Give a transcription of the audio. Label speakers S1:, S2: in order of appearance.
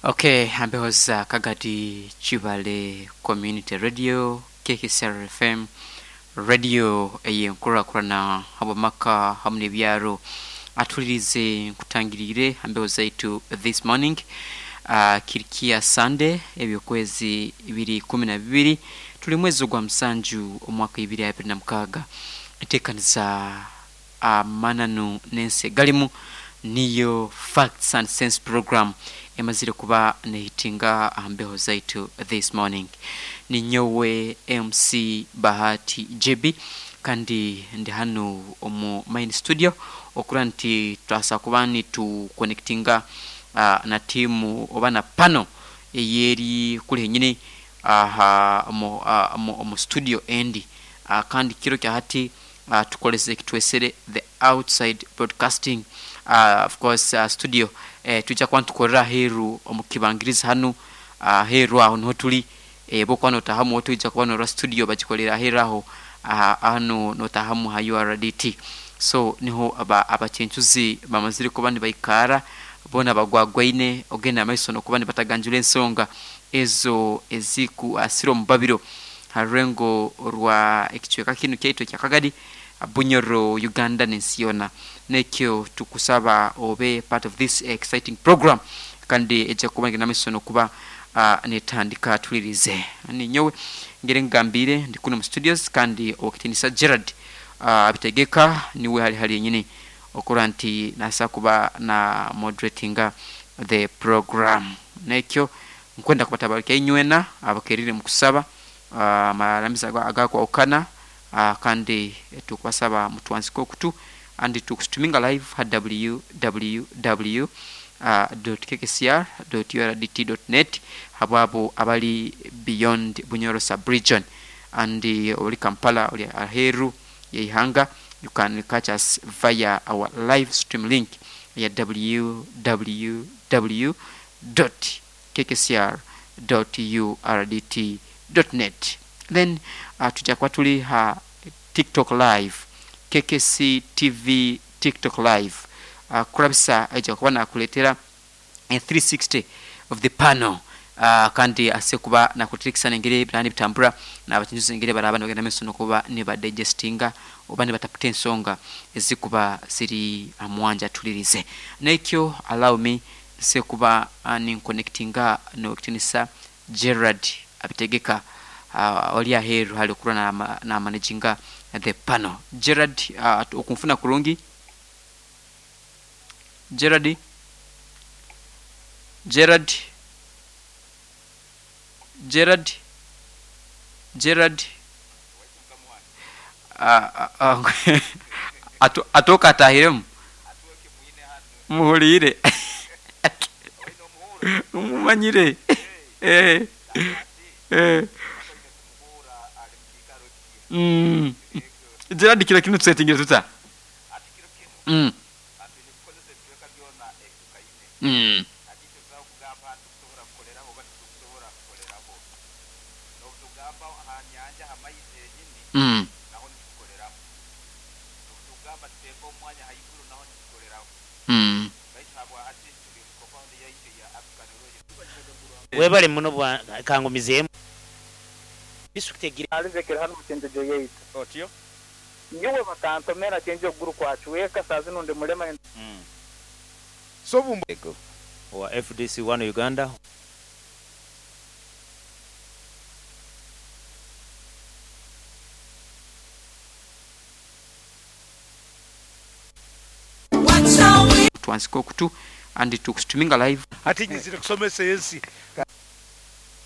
S1: Okay, ambehoza Kagadi Kibale Community Radio, KKCR FM, radio ey'enkurakurana habw'amaka hamu n'ebyaro. Atulirize nkutangiriire ambeho zaitu this morning. Kirikiya Sunday eby'okwezi biri 12, tuli mwezi ogwa musanju omwaka 2026. Enteekaniza amananu n'ensi egalimu niyo Facts and Sense program emazire kuba nehitinga aha mbeho zaitu this morning. Ninyowe MC Bahati JB kandi ndi hanu omu main studio okura nti twasa kuba nitu connectinga na tiimu oba na pano eyeri kuli henyini aha omu studio endi. Kandi kiro kya hati tukolese ekitwesere the outside broadcasting, of course studio twija kuba nitukorera aheeru omu kibangirizi hanu aheeru aho niho tuli. Bwokuba notahamu otwija kuba norora studio bagikolere aheeru aho hanu notahamu ha URDT. So niho abacencuzi bamazire kuba nibaikara boona bagwagwaine ogenda maiso nokuba nibataganjura ensonga ezo eziku asira omu babiro ha rurengo rwa ekicweka kinu kyaitu ekya Kagadi, Bunyoro, Uganda n'ensi yoona. Nekyo tukusaba obe part of this exciting program kandi eja kuba negenda maiso nokuba netandika tulirize. Ninyowe ngeri nkugambiire ndi kunu omu studios kandi owekitinisa Gerald Abitegeka niwe hali hali yenyini okurora nti nasa kuba na moderatinga the program. Nekyo nkwenda kubatabarukya inywena abakerire omu kusaba amaramizo agakwahukana, kandi tukubasaba mutwansike okutu andi tukustuminga live ha www .kkcr .urdt .net habwabo abali beyond Bunyoro sub-region and oli Kampala oli aheeru y'eihanga, you can catch us via our live stream link eya www .kkcr .urdt .net. Then tuja kuba tuli ha TikTok live, KKC TV TikTok live, kurabisa aija kuba nakuletera a 360 of the panel, kandi ase kuba nakuletera ekisani engeri ebiraba nibitambura nabakinjuzi engeri baraba nibagenda maiso nokuba nibadigestinga oba nibataputa ensonga ezikuba ziri aha mwanja tulirize. Nekyo allow me nse kuba ninkonectinga nowekitinisa Gerald Abitegeka ori aheeru hali okurora na managinga the panel. Gerald, okunfuna kurungi? Gerald? Gerald? Gerald? Gerald? Atooka atahiremu? Muhuliire? Mumanyire? Gerald, kiro kinu tusetingire tuta?
S2: Webale muno bwa kangumizeemu disitulikiti egire.
S3: Alizekere hanu mu Kyenjojo yaitu.
S4: Otyo.
S3: Nyowe bakantomera kyenjo okuguru kwacweka, saa zinu ndi mulema.
S4: So
S5: Ego. Owa FDC One Uganda.
S1: Twansike okutu and tukustuminga live.
S4: Hati nyizire kusomesa ensi.